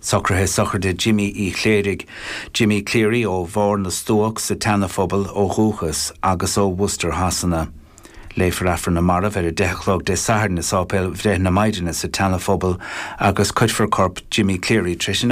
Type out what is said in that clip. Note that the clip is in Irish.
Socruithe sochraide Jimí Uí Chléirigh, Jimmy Cleary ó Bharr na Stuac sa tSeana-Phobal ó dhúchas agus ó Worcester Shasana. Léifear Aifreann na Marbh ar 10 a chlog Dé Sathairn i Sáipéal Bhreith na Maighdine sa tSeana-Phobal agus cuirfear corp Jimmy Cleary tar éis an.